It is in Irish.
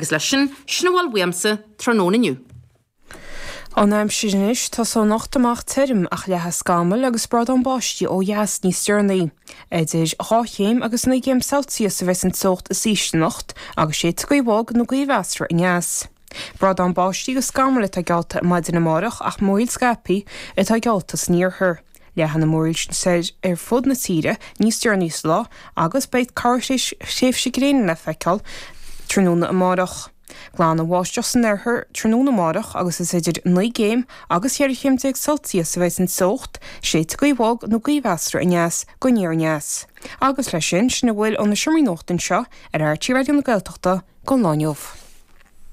Agus leis sin, sin a bhfuil uaimse tráthnóna inniu. An aimsir anois, tosóidh anocht amach tirim ach leathfaidh scamaill agus brádán báistí ó dheas níos deireanaí. Idir 2 chéim agus 9 gcéim Celsius a bheas an teocht is ísle anocht agus séidfidh gaoth bhog nó gaoth mheasartha aneas. Brádán báistí agus scamaill atá geallta maidin amárach ach múraíl scaipthe atá geallta san iarthar. Leathfaidh na múraíl sin soir ar fud na tíre níos deireanaí sa lá agus beidh corrthréimhse gréine le feiceáil tráthnóna amárach. Glanfaidh an bháisteach san oirthear tráthnóna amárach agus is idir 9 gcéim agus 14 chéim Celsius a bheidh an teocht, séidfidh gaoth bhog nó gaoth mheasartha aneas go aniar aneas. Agus leis sin, sin a bhfuil ó na seomraí nuachta anseo ar RTÉ Raidió na Gaeltachta don lá inniu.